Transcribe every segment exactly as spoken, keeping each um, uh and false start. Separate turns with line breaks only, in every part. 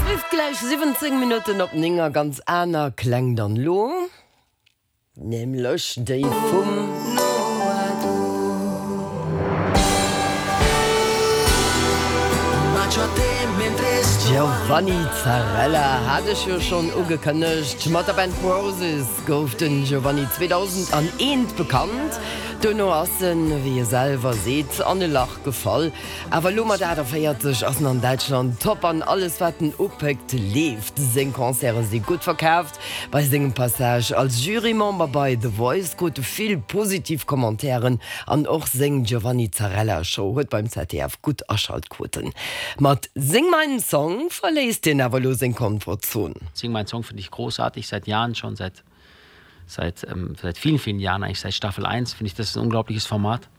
Et rifft gläich siwwenzéng Minutten op néng a ganz aner Kläng dann elo, nämlech déi vum. Giovanni Zarrella hat ech jo schonn ugekënnegt. Mat der Band Roses gouf den Giovanni zweedausendaneent bekannt. Duerno ass en, wéi e selwer seet, an e Lach gefall. Awer elo mat aachtavéierzeg ass en an Däitschland top an alles wat en upéckt leeft. Seng Concerte si gutt verkaaft. Bei sengem Passage als Jurymember bei The Voice krut e vill positiv Commentairen an och seng Giovanni Zarrella Show huet beim Z D F gutt Aschaltquoten. Mat Sing meinen Song verléisst hien awer elo seng Komfortzon.
Sing meinen Song finde ich großartig, seit Jahren schon, seit seit, ähm, seit vielen, vielen Jahren, eigentlich seit Staffel eins, finde ich das ein unglaubliches Format.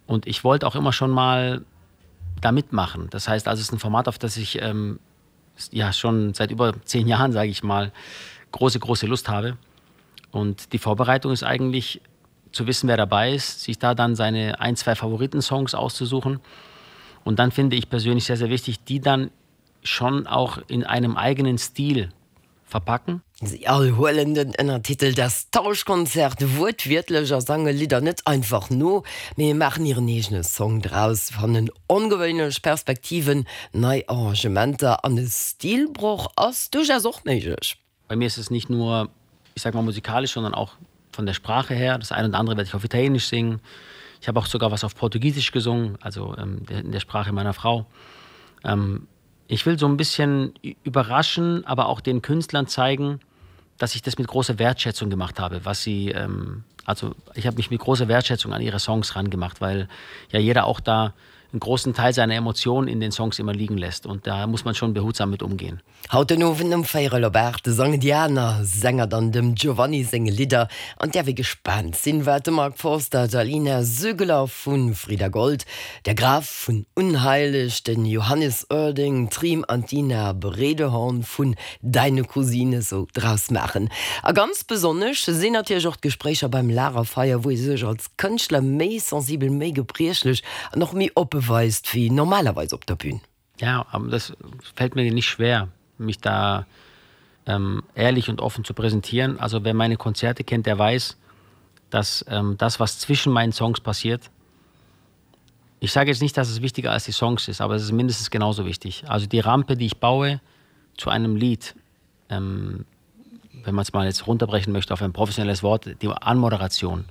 Und ich wollte auch immer schon mal da mitmachen. Das heißt also, es ist ein Format, auf das ich ähm, ja schon seit über zehn Jahren, sage ich mal, große, große Lust habe. Und die Vorbereitung ist eigentlich zu wissen, wer dabei ist, sich da dann seine ein, zwei Favoritensongs auszusuchen. Und dann finde ich persönlich sehr, sehr wichtig, die dann schon auch in einem eigenen Stil verpacken.
Si all huelen den Ënnertitel Das Tauschkonzert wuertwiertlech a sange Lidder net einfach no, mee maachen hiren eegene Song draus, fannen ongewéinlech Perspektiven, nei Arrangementer an e Stilbroch ass duerchaus och méiglech.
Bei mir ist es nicht nur, ich sag mal, musikalisch, sondern auch von der Sprache her. Das eine oder andere werde ich auf Italienisch singen. Ich habe auch sogar was auf Portugiesisch gesungen, also ähm, in der Sprache meiner Frau. Ähm, ich will so ein bisschen überraschen, aber auch den Künstlern zeigen, dass ich das mit großer Wertschätzung gemacht habe, was sie ähm, also ich habe mich mit großer Wertschätzung an ihre Songs rangemacht, weil ja jeder auch da einen großen Teil seiner Emotionen in den Songs immer liegen lässt und da muss man schon behutsam mit umgehen.
Haut den Owend um véierel op aacht sangen déi aner Sänger dann dem Giovanni seng Lidder an däerf ee gespaant sinn, wat de Mark Forster, d'Alina Züggeler vu Frida Gold, der Graf vun Unheilig, den Johannes Oerding, Trim an d'Ina Bredehorn vun Deine Cousine sou draus maachen. A ganz besonnesch sinn natierlech och d'Gespréicher beim Lagerfeier, wou ee sech als Kënschtler méi sensibel, méi gebriechlech an och méi oppe weist wéi normalerweis op der Bühn.
Ja, aber das fällt mir nicht schwer, mich da ähm, ehrlich und offen zu präsentieren. Also wer meine Konzerte kennt, der weiß, dass ähm, das, was zwischen meinen Songs passiert, ich sage jetzt nicht, dass es wichtiger als die Songs ist, aber es ist mindestens genauso wichtig. Also die Rampe, die ich baue zu einem Lied, ähm, wenn man es mal jetzt runterbrechen möchte auf ein professionelles Wort, die Anmoderation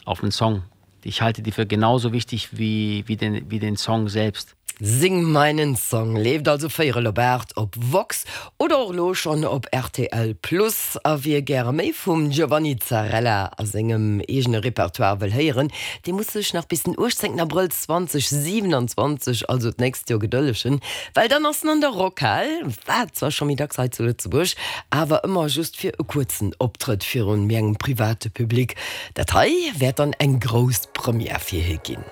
auf einen Song, ich halte die für genauso wichtig wie, wie, den, wie den Song selbst.
Sing meinen Song leeft also véierel op aacht op Vox oder och elo schonn op R T L Plus. A wie gäre méi vum Giovanni Zarrella a sengem eegene Repertoire wëll héieren, dee muss sech nach bis den uechtzéngten Abrëll zweedausendsiewenanzwanzeg, also d'nächst Joer, gedëllegen, well dann ass en an der Rockhal, war zwar scho méi dacks hei zu Lëtzebuerg, awer ëmmer just fir e kuerzen Optrëtt virun méi engem private Public. Dat hei wäert dann eng grouss Première fir hie ginn.